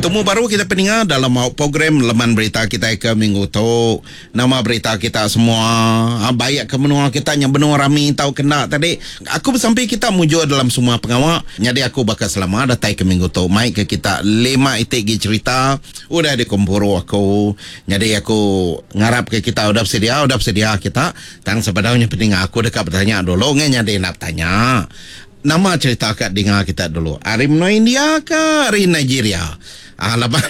Betemu baru kita peninga dalam program Leman Berita kitai ke minggu tu. Nama berita kita semua? Ha, baik ke menua kita nya benung rami tauka enda tadi. Aku besampi kita mujur dalam semua pengawa. Nyadi aku baka selama datai ke minggu tu mai ke kita lima iti gi cherita udah dikumpuru aku. Nyadi aku ngarap ke kita udah besedia, udah besedia kita. Tang sebedau nya peninga aku deka betanya dulu ngai nyadi enda betanya. Nama cherita ka dinga kita dulu ari menua India ka ari Nigeria? Ah laban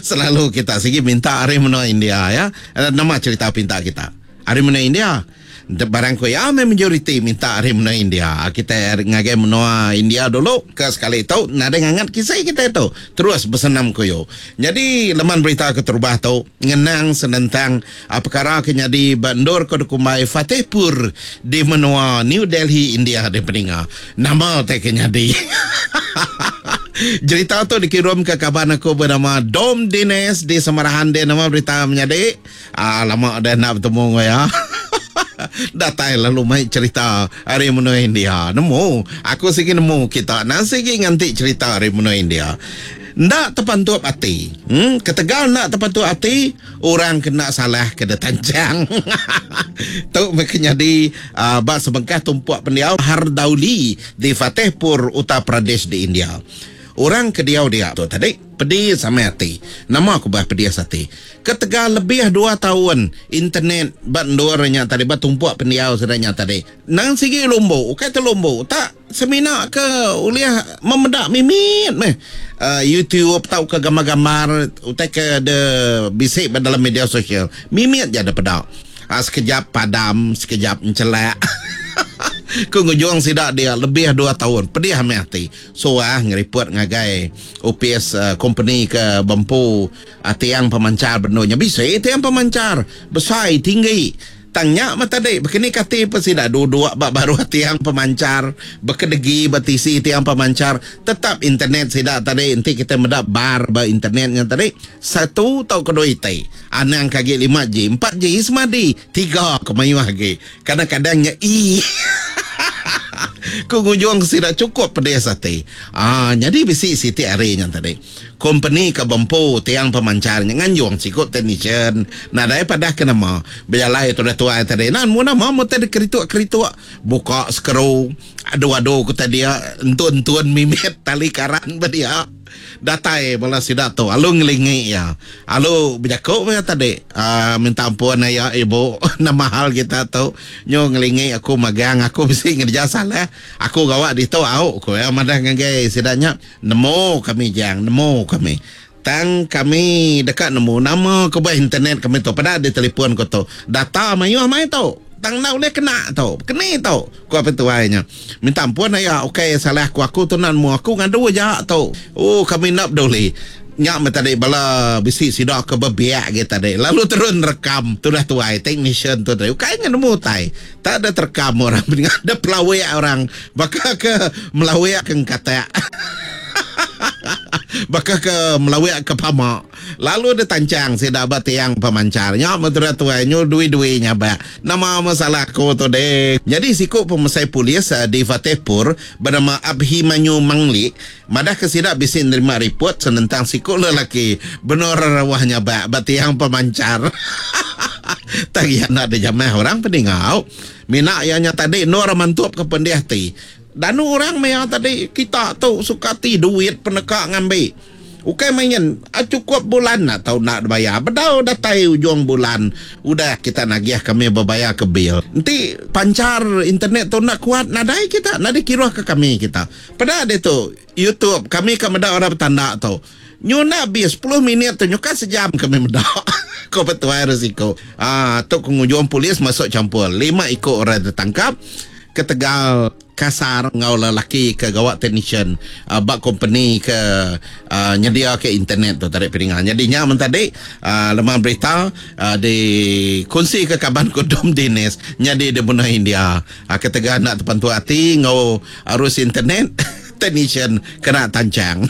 selalu kita sigi minta ari menua India ya. Nama cherita pinta kita? Ari menua India. Barang ku iya meh majoriti minta ari menua India. Kita ngagai menua India dulu ke sekali tu nadai ngangat kisi kita tu. Terus besenam kuyu. Nyadi leman berita keterubah tu ngenang senentang Pekara ke nyadi ba endur ke dikumbai Fatehpur di menua New Delhi, India deh peninga. Nama utai ke nyadi? Jerita tu dikirumka kaban aku benama Dom Dines di Samarahan deh nama berita menyadi. Ah lama udah enda betemu enggau iya. Datai lalu mai cerita ari menua India. Nemu, aku sigi nemu kita nang sigi nganti cerita ari menua India. Enda tepantup ati. Hmm, ketegal enda tepantup ati, orang ke enda salah ke ditanchang. Tu meh ke nyadi uh, ba sebengkah tumpuk pendiau Hardauli di Fatehpur, Uttar Pradesh di India. Orang ke diau dia tu tadi pedis amai ati. Nama ku bah pedis ati? Ketegal lebih dua taun internet ba endur nya tadi ba tumpuk pendiau sida nya tadi nang sigi lumbu ukai telumbu tak Semina ke ulih memeda mimit meh YouTube tauka gambar-gambar utai ke de bisi ba dalam media sosial. Mimit ja de peda. Sekejap padam, sekejap enchelak. Ku ngujung sida dia lebih dua taun pedih meh ati. Suah ngeriput ngagai opis kompeni ke bempu tiang pemanchar bendu nya. Bisi tiang pemanchar besai tinggi. Tang nya meh tadi, bekeni kati pun sida duduk ba baruh tiang pemanchar, bekedegi ba tisi tiang pemanchar, tetap internet sida tadi enti kitai meda bar ba internet nya tadi, satu tauka dua iti. Anang ke agi 5G, 4G semadi, tiga ke mayuh agi. Kadang-kadang nya E. Ku ngujung sida chukup pedis ati. Aa nyadi bisi siti hari nya tadi. Kompeni ke bempu tiang pemanchar nya nganjung siku teknisyen nadai padah ke nama bejalai tudah tuai tadi enda nemu nama meh utai dikerituk-kerituk buka skru adu-adu ku dia entun-entun mimit tali karan ba dia datai bala sida tu alu ngelingi iya alu bejaku meh tadi aaa minta ampun aya ibu nama hal kita tu nyu ngelingi aku magang aku bisi ngereja salah aku gawa ditu au ku iya madah ngagai sida nya. Nemu kami jang, nemu kami. Tang kami deka nemu nama ke ba internet kami tu. Peda di telefon ku tu. Data mayuh mai tu. Tang enda ulih kena tu. Keni tu? Ku apai tuai nya. Minta ampun aya, ukai salah ku aku tu enda nemu. Aku ngadu aja tu. Ooh kami enda peduli. Nya meh tadi bala bisi sida ke bebiak agi tadi. Lalu terus nerekam tudah tuai technician tu tadi. Ukai nya nemu utai. Tak ada terekam orang ada pelawik orang baka ke melawik ke engkatak. Baka ke melawik ke pama. Lalu ditancang sida ba tiang pemanchar. Nya meh tudah tuai nyu dui-dui nyabak. Nama masalah aku tu deh. Nyadi siku pemesai polis di Fatehpur benama Abhimanyu Mangli madahka sida bisi nerima ripot senentang siku lelaki benur rerauh nyabak ba tiang pemanchar. Tang iya enda dijamah orang peningau. Mina iya nya tadi endur mantupka pendih ati. Danu orang maya tadi kita tu suka ati duit peneka ngambi. Ukai main, chukup bulan enda tau enda dibayar. Bedau datai ujung bulan udah kita nagih kami bebayar ke bil. Enti panchar internet tu enda kuat nadai kita enda dikiruhka kami kita. Peda ditu YouTube kami ka meda orang betanda tu. Nyu enda abis sepuluh minit tu nyuka sejam kami meda. Ko petuai risiko. Aa tu ke ngujung polis masuk champur. Lima iku orang ditangkap ketegal kasar enggau lelaki ke gawa technician ba kompeni ke nyediaka internet tu tadi peninga. Nyadi nya men tadi leman berita dikunsika kaban ku Dom Dinis nyadi di menua India ketegal enda tepantu ati enggau arus internet technician kena tanchang.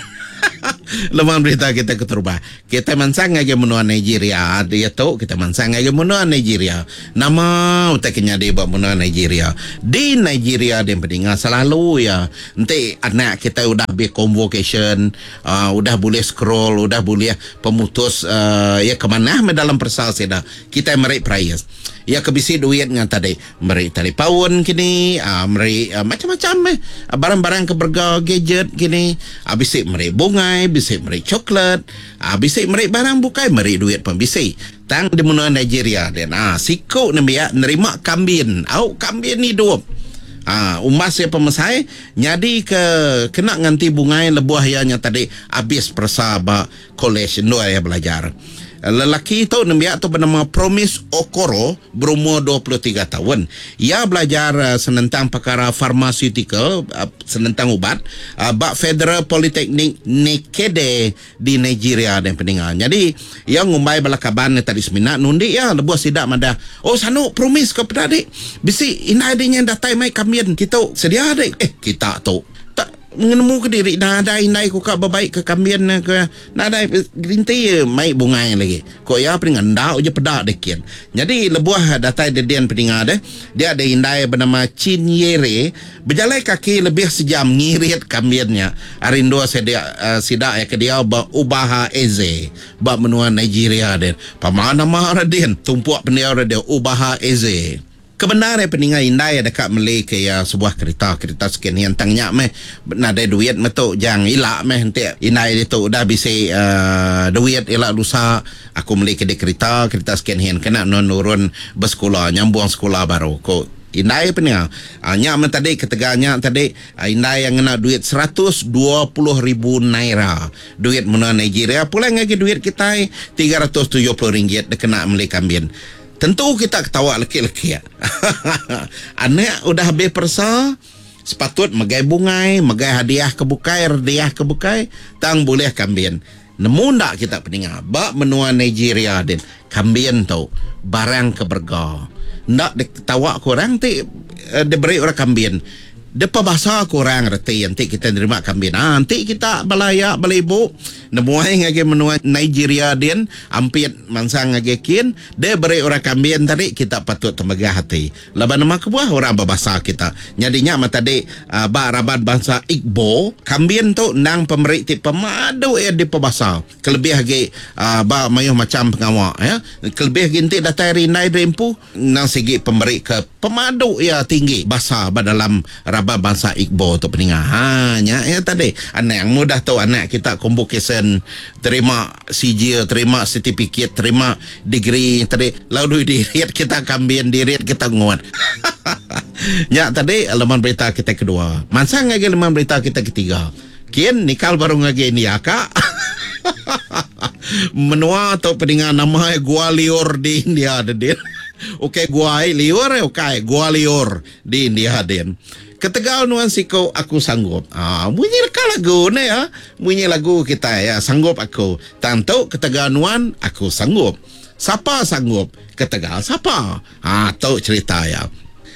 Leman berita kita keterubah. Kita mansang ngagai menua Nigeria. Diatu kita mansang ngagai menua Nigeria. Nama utai ke nyadi ba menua Nigeria? Di Nigeria din pedinga selalu iya enti anak kita udah be convocation, uh, udah bulih scroll, udah bulih pemutus uh, iya ke manah meh dalam peresa sida. Kita meri prize. Iya ke bisi duit ngan tadi meri talipaun kini, uh, meri uh, macam-macam meh barang-barang ke berega gadget kini, uh, bisi meri bungai, bisi meri coklat, uh, bisi meri barang bukai, meri duit pun bisi. Tang di menua Nigeria din, uh, siku nembiak nerima kambin, au kambin hidup. Uh, umbas iya pemesai nyadi ke kena nganti bungai lebuh iya nya tadi habis peresa ba kolej endur iya belajar. Lelaki tu nembiak tu benama Promise Okoro berumur 23 taun. Iya belajar senentang pekara farmaseutikal, senentang ubat, ba Federal Polytechnic Nekede di Nigeria deh peninga. Nyadi iya ngumbai bala kaban iya tadi semina nundi iya lebuh sida madah, Oh sanu Promise ko peda dik bisi indai dik nya datai mai kambin kitu sedia dik. Eh kita tu tak ngenemu ke diri nadai indai ku ka bebaik ke kambin ne ke nadai gerinti mai bungai lagi. Ko iya peninga enda uji peda deh kin. Nyadi lebuh datai dedin peninga deh dia deh indai benama Chinyere bejalai kaki lebih sejam ngirit kambin nya ari endur sida sida iya ke diau ba Ubaha Eze ba menua Nigeria din. Pama nama ra din tumpuk pendiau ra dia Ubaha Eze. Kebendar iya peninga indai iya deka meli ke iya sebuah kerita, kerita second hand tang nya meh nadai duit meh tu jang ila meh enti indai ditu udah bisi uhh duit ila lusa aku meli ke dik kerita, kerita second hand kena nuan nurun besekula nyambung sekula baru ku indai peninga. Uhh nya meh tadi ketegal nya tadi indai iya ngena duit 120 ribu naira duit menua Nigeria pulai ngagai duit kitai 370 ringgit dikena meli kambin. Tentu kita ketawa lekik-lekik. Anak udah habis peresa, sepatut megai bungai, megai hadiah ke bukai, rediah ke bukai, tang bulih kambin. Nemu enda kita peninga, ba menua Nigeria din, kambin tu barang ke berega. Enda diketawa ke orang ti diberi orang kambin. Depa basa ke orang reti enti kita nerima kambin. Aa enti kita bala aya bala ibu nemuai ngagai menua Nigeria din ampit mansang ngagai kin deh beri orang kambin tadi kita patut temegah ati. Laban nama kebuah orang bebasa kita. Nyadi nya meh tadi ba raban bansa Igbo kambin tu endang pemeri ti pemadu iya dipebasa kelebih agi ba mayuh macham pengawa ya. Kelebih agi enti datai ari indai diri empu. Endang sigi pemeri ke pemadu iya tinggi basa ba dalam raban bansa Igbo tu peninga. Ha nya iya tadi. Anang mudah tu anak kita convocation terima sijil, terima setipikit, terima degree tadi lalu dirit kita kambin, dirit kita ngut. Nya tadi leman berita kita kedua. Mansang ngagai leman berita kita ketiga. Kin nikal baru ngagai India ka. Menua tu peninga nama iya Gua Liur di India de din. Ukai gua ai liur eh ukai Gua Liur di India din. Ketegal nuan siku aku sanggup. Aa munyi leka lagu ne ya. Munyi lagu kitai ya sanggup aku. Tang tu ketegal nuan aku sanggup. Sapa sanggup ketegal sapa. Aa tu cherita iya.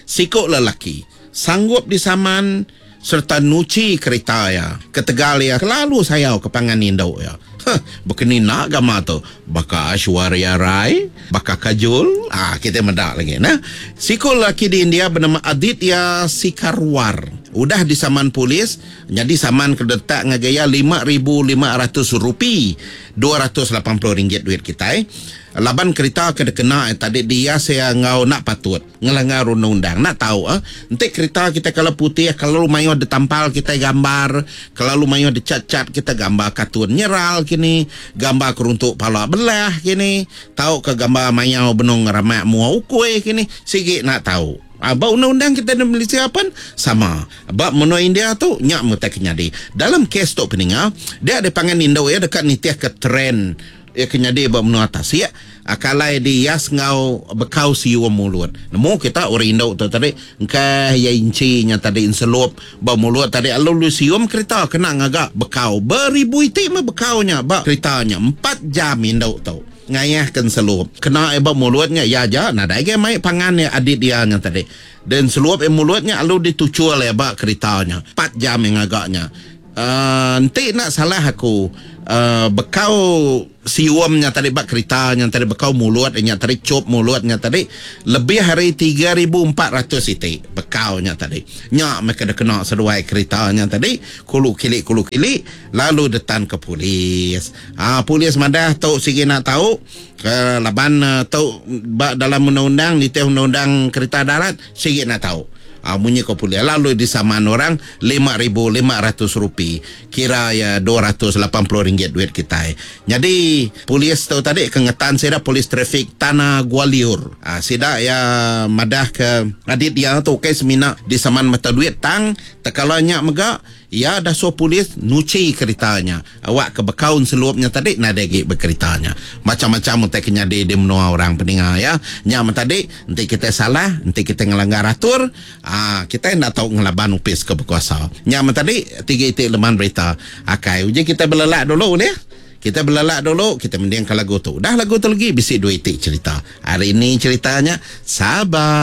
Siku lelaki sanggup disaman sereta nuchi kerita iya ketegal iya kelalu sayau ke pangan indu iya. Huh, baka ni enda gama tu? Baka Aishwarya Rai? Baka Kajol? Ah, kitai meda lagi nah. Siku lelaki di India benama Aditya Sikarwar udah disaman polis nyadi saman ke diletak ngagai iya 5500 rupee, 280 ringgit duit kitai, laban kerita ke dikena iya tadi dihias iya enggau enda patut. Ngelanggar undang-undang. Enda tau eh. Enti kerita kitai kala putih kelalu mayuh ditampal kitai gambar, kelalu mayuh dicat-cat kitai gambar kartun nyeral kini, gambar keruntuk pala belah kini, tauka gambar mayau benung ngeramak mua ukui kini, sigi enda tau. Ah ba undang-undang kitai di Malaysia pen sama. Ba menua India tu nya meh utai ke nyadi. Dalam kes tu peninga, dia dipangan indu iya deka nitihka trend Iya ke nyadi ba menua tasik, kalai diias enggau bekau sium mulut. Nemu kita orang indu tu tadi, engkah iya inchi nya tadi enselup ba mulut tadi lalu lu sium kerita kena ngaga bekau. Beribu iti meh bekau nya ba kerita nya. Empat jam indu tu ngayah ke enselup. Kena iya ba mulut nya iya aja nadai agi mai pangan iya adit iya nya tadi. Dia enselup iya mulut nya lalu dituchul iya ba kerita nya. Empat jam iya ngaga nya. Uh, enti nak salah aku uh, bekau sium nya tadi ba kerita nya tadi bekau mulut nya tadi cop mulut nya tadi lebih hari 3400 iti bekau nya tadi. Nya meh ke kena seduai kerita nya tadi kulu kili kulu kili lalu detan ke polis. Ah polis madah tu sigi nak tahu ke laban uh, tu ba dalam undang-undang nitih undang-undang kerita darat sigi nak tahu. Ah munyi ko polis lalu disaman orang 5500 rupee kira ya 280 ringgit duit kitai. Jadi polis tu tadi ke ngetan sida polis trafik Tanah Gwalior. Ah sida ya madah ke adit dia tu ukai semina disaman mata duit tang tekala nya mega iya dah suruh polis nuchi keretanya. Awak ke bekaun selupnya tadi nadai agi bekeretanya. Macam-macam utai ke nyadi di menua orang peninga ya. Nya men tadi enti kita salah, enti kita ngelanggar atur, ah kita enda tau ngelaban upis ke berkuasa. Nya men tadi tiga iti leman berita. Akai uji kita belelak dulu boleh? Kita belelak dulu, kita mendingkan lagu tu. Dah lagu tu lagi bisi dua iti cerita. Hari ini ceritanya sabar.